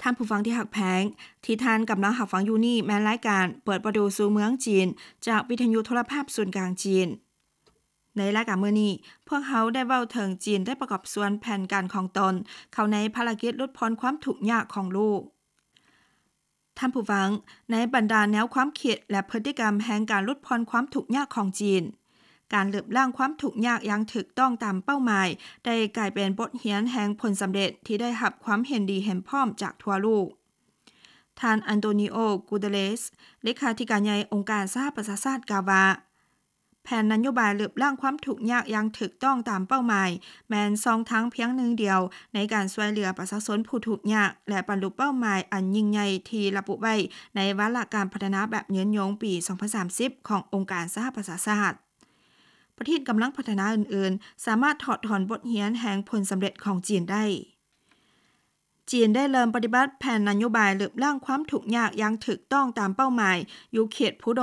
ທ່ານຜູ້ຟັງທີ່ຮັກແພງ, ທີ່ທ່ານກຳລັງຮັບຟັງຢູ່ນີ້ແມ່ນລາຍການເປີດປະຕູສູ່ເມືອງຈີນ ຈາກວິທະຍຸໂທລະພາບສູນກາງຈີນ. ໃນລາຍການມື້ນີ້, ພວກເຮົາໄດ້ເວົ້າເຖິງຈີນໄດ້ປະກອບສ່ວນແຜນການຂອງຕົນເຂົ້າໃນພາລະກິດຫຼຸດຜ່ອນຄວາມທຸກຍາກຂອງໂລກ. ທ່ານຜູ້ຟັງ, ໃນບັນດາແນວຄວາມຄິດ ແລະ ພຶດຕິກຳແຫ່ງການຫຼຸດຜ່ອນຄວາມທຸກຍາກຂອງຈີນ, ການລຶບລ້າງຄວາມທຸກຍາກຢ່າງຖືກຕ້ອງຕາມເປົ້າໝາຍ ໄດ້ກາຍເປັນບົດຮຽນແຫ່ງຜົນສຳເລັດທີ່ໄດ້ຮັບຄວາມເຫັນດີເຫັນພ້ອມຈາກທົ່ວໂລກ. ທ່ານ ອັນໂຕນີໂອ ກູເຕເລສ ເລຂາທິການໃຫຍ່ອົງການສະຫະປະຊາຊາດ ກ່າວວ່າ ແຜນນະໂຍບາຍລຶບລ້າງຄວາມທຸກຍາກຢ່າງຖືກຕ້ອງຕາມເປົ້າໝາຍ ແມ່ນຊ່ອງທາງພຽງໜຶ່ງດຽວໃນການຊ່ວຍເຫຼືອປະຊາຊົນຜູ້ທຸກຍາກ ແລະ ບັນລຸເປົ້າໝາຍອັນຍິ່ງໃຫຍ່ທີ່ລະບຸໄວ້ໃນວາລະການພັດທະນາແບບຍືນຍົງປີສອງພັນສາມສິບຂອງອົງການສະຫະປະຊາຊາດ. ປະເທດກຳລັງພັດທະນາອື່ນໆ ສາມາດຖອດຖອນບົດຮຽນແຫ່ງຜົນສຳເລັດຂອງຈີນໄດ້. ຈີນໄດ້ເລີ່ມປະຕິບັດແຜນນະໂຍບາຍລຶບລ້າງຄວາມທຸກຍາກຢ່າງຖືກຕ້ອງຕາມເປົ້າໝາຍຢູ່ເຂດພູດ